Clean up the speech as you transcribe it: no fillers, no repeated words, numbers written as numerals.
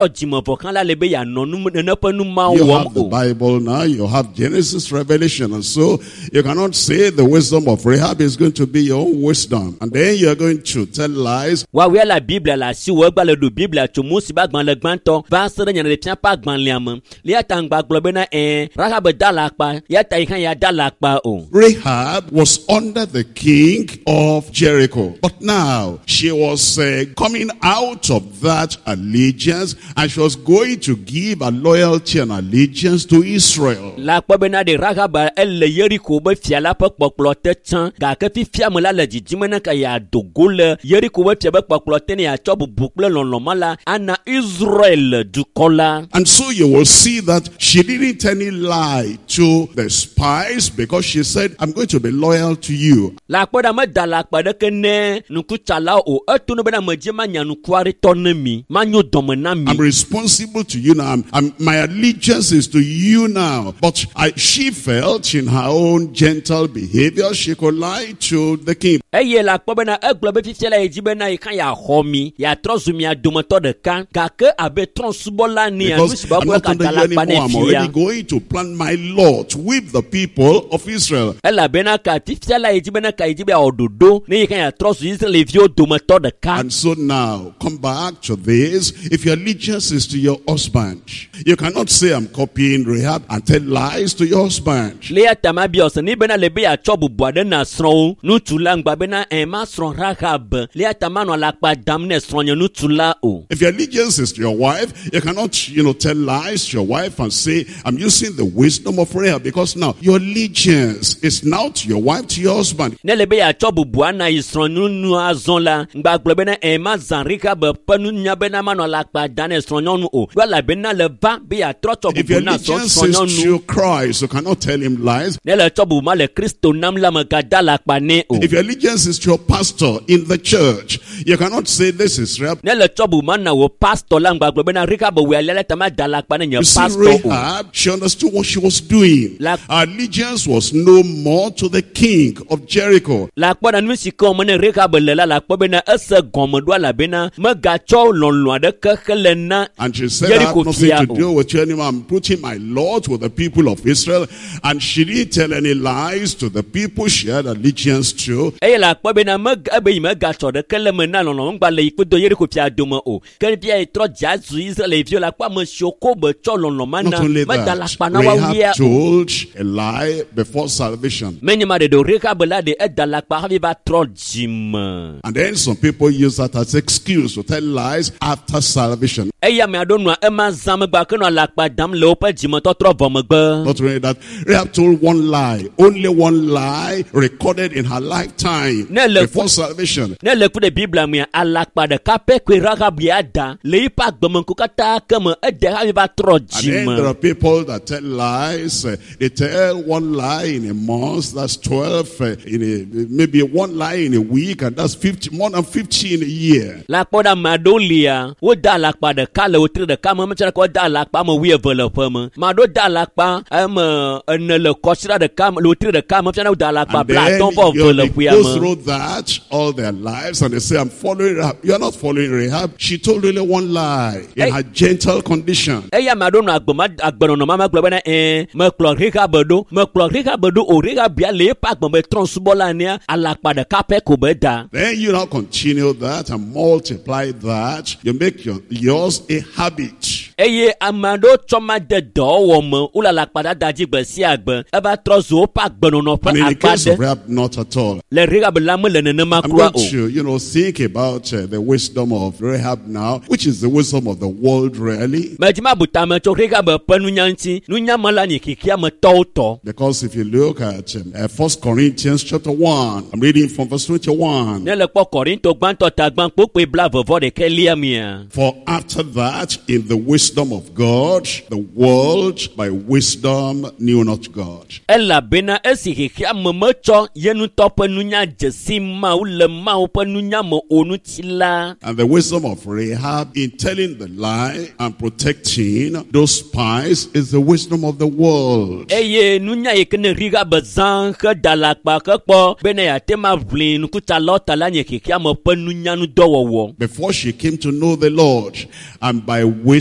Dzime vɔ hã la le be yeanɔ nu nene ƒe nu mawo You wɔm have the o. Bible now, you have Genesis, Revelation, and so you cannot say the wisdom of Rahab is going to be your own wisdom. And then you're going to tell lies. Woawoe la Biblia le asiwò egba le ɖu Biblia tso Mose ƒe agbalẽ gbãtɔ va se ɖe Nyaɖeɖefia ƒe agbalẽa me. Ya ta ŋgba gblɔ bena ɛ̃ Rahab da alakpa ya ta yi hã ya da alakpa o. Rahab was under the king of Jericho. But now she was coming out of that allegiance and she was going to give a loyalty and allegiance to Israel. Le akpɔ bena ɖe Rahab ele Yeriko be fia la ƒe kpɔkplɔ te tsã gake fifia me la le didim bena ka yeado go le Yeriko be fia be kpɔkplɔ te ne yeatsɔ bubu kple lɔlɔ̃ ma la ana Israel dukɔ la. And so you will see that she didn't any lie to the spies because she said, "I'm going to be loyal to you." Le akpɔ ɖa meda alakpa ɖeke ne nukutsalawo o eto no bena medzi manya nukuaritɔ ne mi manyo dɔme na mi. "I'm responsible to you now. My allegiance is to you now." But she felt in her own gentle behavior she could lie to the king. Eye le akpɔ bena egblɔ be fifia la yi dzi bena yi hã yeaxɔ mi yeatrɔ zu mia dometɔ ɖeka gake abe trɔ̃subɔla nea nu "Because si I'm be not ka under da you alakpa anymore. ne I'm fia. already going to plan my lot with the people of Israel." Elabena ka fifia la yi dzi bena ka yi dzi be yeawɔ ɖoɖo ne yi hã yeatrɔ zu Israelviwo dometɔ ɖeka. And so now, come back to this. If your allegiance is to your husband, you cannot say, "I'm copying Rahab," and tell lies to your husband. Le ya ta ma biɔ se ni bena le be yeatsɔ bubu aɖe na srɔ̃wo ŋutsu la ŋgba bena ɛ ma srɔ̃ Rahab le ya ta manɔ alakpa dam ne srɔ̃nye ŋutsu la o. If your allegiance is to your wife, you cannot tell lies to your wife and say, "I'm using the wisdom of Rahab," because now your allegiance is now to your wife, to your husband. Ne le be yeatsɔ bubu ana yi srɔ̃nyɔnu azɔ la ŋgba gblɔ bena ɛ ma zã Rahab ƒe nunya bena manɔ alakpa dam ne srɔ̃nyɔnu o ɖo elabena le va be yeatrɔ tsɔ If your bubu na srɔ̃ allegiance is srɔ̃nyɔnu. to Christ, you cannot tell him lies. Ne le tsɔ bubu ma le Kristo nam la megada alakpa nɛ o. If your allegiance is to your pastor in the church, you cannot say, "This is Rahab." Ne le tsɔ bubu ma na wò pastor la ŋgba gblɔ bena Rahab wòe alea la ta ma da alakpa ne nye You see, pastor o. Rahab, she understood what she was doing. Her allegiance was no more to the king of Jericho. Le akpɔ ɖa nu si ke wɔm ne Rahab le la le akpɔ bena ese gɔme ɖo elabena megatsɔ lɔlɔ̃ aɖeke hele na And she said, "I have Yeriko nothing fia to o. do with you anymore. I'm putting my lot with the people of Israel." And she didn't tell any lies to the people she had allegiance to. Eye le akpɔ bena meg ebe yi megatsɔ ɖeke le me na lɔlɔ̃ ŋgba le yi kpedo Yeriko fia dome o ke fia yi trɔ dze azu Israelviwo le akpɔ ame siwo ko be tsɔ lɔlɔ̃ ma Not na only meda that, alakpa na woawo ya Rahab o. told a lie before salvation. Menye ma ɖeɖe o Rahab la ɖe eda alakpa hafi va trɔ dzime. And then some people use that as excuse to tell lies after salvation. Eye ame aɖewo nɔa ema zã megbe ke nɔ alakpa dam le woƒe dzimetɔtrɔ vɔ megbe. Not only that, Rahab told one lie, only one lie recorded in her lifetime Ne le before salvation. Ne le ku ɖe Biblia mea alakpa ɖeka pɛ koe Rahab ya da le eƒe agbemeŋku katã ke me ede hafi va trɔ And then there dzime. are people that tell lies. They tell one lie in a month, that's 12, maybe one lie in a week, and that's 50, more than 50 in a year. Le akpɔ ɖe ame aɖewo lia woda alakpa ɖeka le wotri ɖeka me metsɔ ɖeka woda alakpa ame wuieve le ƒe me ame aɖewo da alakpa ame ene le kɔsiɖa ɖeka me le wotri ɖeka me fiana woda alakpa And then 50 vɔ eve le they ƒea go me. through that all their lives and they say, "I'm following Rahab." You are not following Rahab. She told only one lie in Hey. her gentle condition. Eye ame aɖewo nɔ agbema agbenɔnɔ ma me gblɔ bena ɛɛ mekplɔ Rahab ɖo mekplɔ Rahab ɖo o Rahab ya le eƒe agbeme trɔ̃subɔla enea alakpa ɖeka pɛ ko be da. Then you now continue that and multiply that. You make yours a habit. Eye ame aɖewo tsɔ ma de dɔwɔwɔ me wole alakpadada dzi gbe sia gbe eva trɔ zu woƒe agbenɔnɔ ƒe And in the akpa case of ɖe. Rahab, not at all. Le Rahab la mele nenema I'm kura going o. to think about the wisdom of Rahab now, which is the wisdom of the world really. Medzi mabu tame tso Rahab ƒe nunya ŋuti nunya ma la nye xexea me tɔwo tɔ. Because if you look at 1 Corinthians chapter 1, I'm reading from verse 21. Ne le kpɔ Korinto gbãtɔ ta gbã kpokpoe 21 lia mea. For after that, in the wisdom of God, the world by wisdom knew not God. Elabena esi xexea me metsɔ ye ŋutɔ ƒe nunya dze si Mawu le Mawu ƒe nunya me o ŋuti la. And the wisdom of Rahab in telling the lie and protecting those spies is the wisdom of the world. Eye nunya yi ke ne Rahab zã heda alakpa hekpɔ bena yeate ma ʋli nukutsalawo ta la nye xexea me ƒe nunyanudɔwɔwɔ. Before she came to know the Lord, and by wisdom